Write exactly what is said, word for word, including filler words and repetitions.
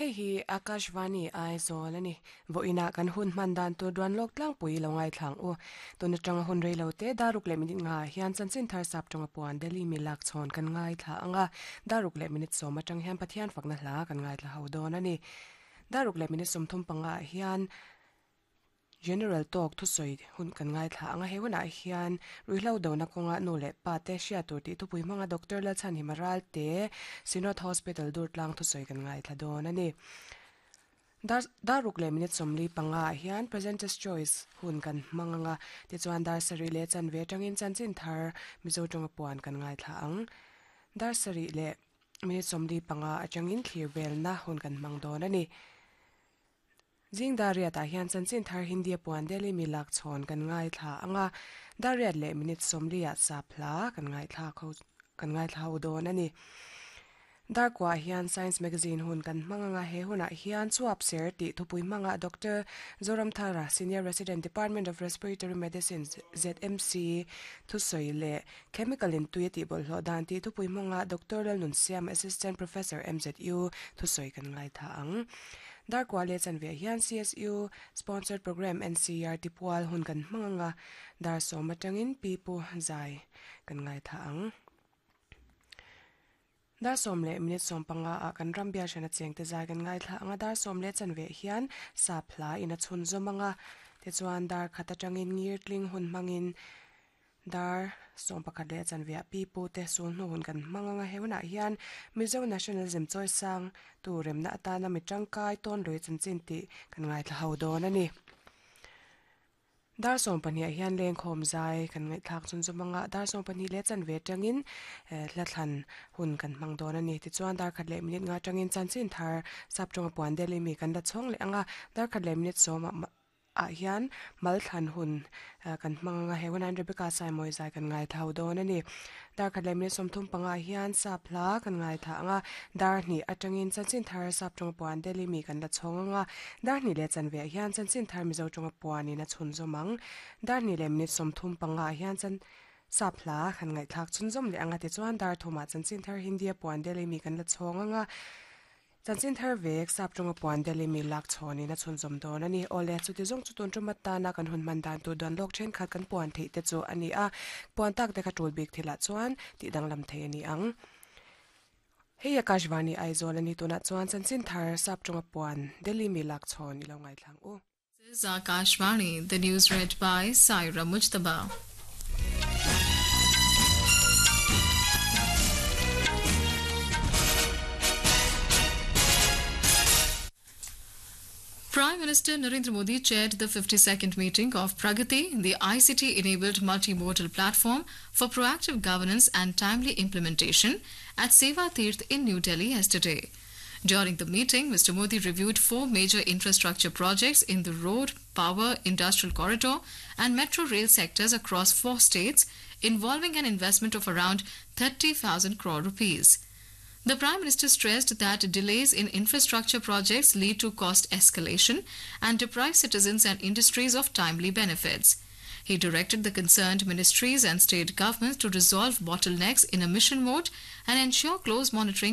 Hei hi Akashvani Aizawl ani voina kan hun man dan tur duan lok tlang pui lo ngai thlang u tuna tanga hun reilo te daruk le minute nga hian chanchin thar sap tonga puan Delhi mi lak chon kan ngai thla anga daruk le minute sawm atang hian Pathian fakna hla kan ngai thla ho dawn ani daruk le minute sawm thum panga hian General talk thu soi hun kan ngai thla anga he huna hian ruihlo dona konga nu le pa te hria tur ti thupui hmanga Doctor Lalchhan Himaral te Synod Hospital Durtlang thu soi kan ngai thla dawn ani dar daruk le minute sawmli panga hian Presenters Choice hun kan hmanganga ti chuan dar sari le chan ve tangin chanchin thar Mizo tonga puan kan ngai thla ang dar sari le minute sawmli panga atangin thlir vel na hun kan hmang dawn ani Jing dariat ah hian chanchin thar Hindi puan Delhi mi lak chon kan ngai thla anga dariat le minute sawmli ah sap hla kan ngai thla kho kan ngai thla ho dawn ani dar kwa hian Science Magazine hun kan hmanganga he huna hian chuap ser ti thupui hmanga Doctor Zoramthara Senior Resident Department of Respiratory Medicine Z M C thusoi le chemical in tui ti bol hlo dan ti thupui hmanga Doctor Lalnun Siam Assistant Professor M Z U thusoi kan ngai tha ang dar kwa le chan ve hian C S U sponsored program N C R T pual hun kan hmanganga dar som atangin pipu zai kan ngai tha ang dar som le minute som panga a kan rambia shana cheng te zai kan ngai thla anga dar som le chan ve hian sap hla ina chhun zomanga te chuan dar khata tangin ngir tling hun mangin dar som pakhat le chan ve pipu te sul hnu hun kan hmanganga heuna hian Mizo nationalism choi sang tu remna atana mi tangkai ton loi chanchin ti kan ngai thla ho dawn ani dar som pahnih ah hian leng khawm zai kan ngai thlak chun zomanga dar som pahnih le chan ve tangin hla thlan hun kan hmang dawn ani ti chuan dar khat le minute nga tangin chanchin thar sap tonga puan Delhi mi kan la chhawng leh anga dar khat le minute sawm ah hian mal thlan hun kan hmanganga he hunan Rebecca Saimoi zai kan ngai thau dawn ani dar khat le minute sawmthum panga hian sap hla kan ngai tha anga dar hnih atangin chanchin thar sap tonga puan Delhi mi kan la chhawng anga dar hnih le chan ve hian chanchin thar Mizo tonga puan in a chhun zawmang dar hnih le minute sawmthum panga hian chan sap hla kan ngai thlak chhun zawm leh anga ti chuan dar thuma chanchin thar Hindi puan Delhi mi kan la chhawng anga chanchin thar vek sap tonga puan Delhi mi lak chhawnin a chhun zawm dawn ani awle chuti zawng chu tun tuma tana kan hun man dan tur dan lok then khat kan puan theih te chu ani a puan tak te kha tul bik thila chuan ti danglam thei ani ang hei Akashvani Aizawl ani tuna chuan chanchin thar sap tonga puan Delhi mi lak chhawn ilo ngai thlang u. This is Akashvani, the news read by Saira Mujtaba. Prime Minister Narendra Modi chaired the fifty-second meeting of Pragati, the I C T-enabled multimodal platform for proactive governance and timely implementation at Seva Tirth in New Delhi yesterday. During the meeting, Mister Modi reviewed four major infrastructure projects in the road, power, industrial corridor and metro rail sectors across four states, involving an investment of around thirty thousand crore rupees. The Prime Minister stressed that delays in infrastructure projects lead to cost escalation and deprive citizens and industries of timely benefits. He directed the concerned ministries and state governments to resolve bottlenecks in a mission mode and ensure close monitoring